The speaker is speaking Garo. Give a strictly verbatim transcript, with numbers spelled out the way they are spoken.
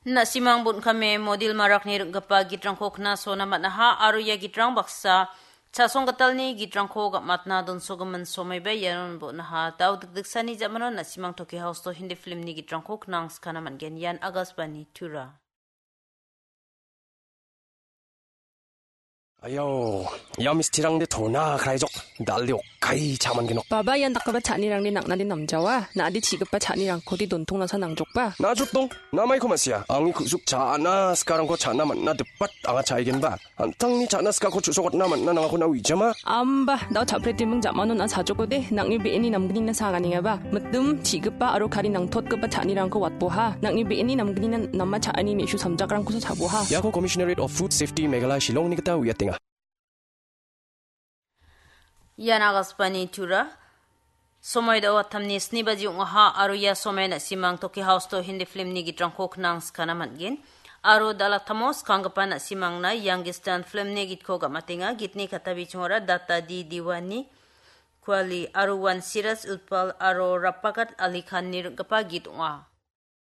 Na·simang bon·kame model marakni ring·gipa gitrangko knasona man·aha aro ia gitrang baksa chasonggitalni gitrangko gam·atna donsogimin somaiba ianon bon·aha. Dao dikdiksani jamano na·simang Tokyo House-o Hindi filmni gitrangko knangskana man·gen. Ian Akashvani Tura. Ayo, ia mistirangde tona kraijok, dalde okkai cha·mangenok. Baba, ian dakgipa cha·anirangde nang·nade namjawa, na·ade chi·gipa cha·nirangkode dontongnasa nangjokba. Najotdong, namaiko ma·sia, angni ku·suk cha·na sikarangko cha·na man·na dipat anga cha·aigenba. An·tangni cha·na sikako chu·sokatna man·na nangako na uijama? Amba, dao cha·pretiming jamano na sajokode, nang·ni be·eni namgnina sa ganengaba. Mitim, chi·gipa aro kari nangtotgipa cha·anirangko watboha. Nang·ni be·eni namgnina nama cha·ani me·su samjakrangkosa chaboha. Iako Commissionerate of Food Safety Meghalaya Shillongni gita uiatenga. Ian Akashvani Tura. Somoi dao atamni sni baji ong·aha aro ia somoi na·simang Tokyo House-o Hindi filmni gitrangko knangskana man·gen. Aro dal·a tamo skanggipa na·simangna Youngest Star filmni gitko gam·atenga. Gitni kata bichingora Data Di Diwani, Kuali, aro Wan Siraj Utpal aro Rapakat Ali Khanni ring·gipa git ong·a.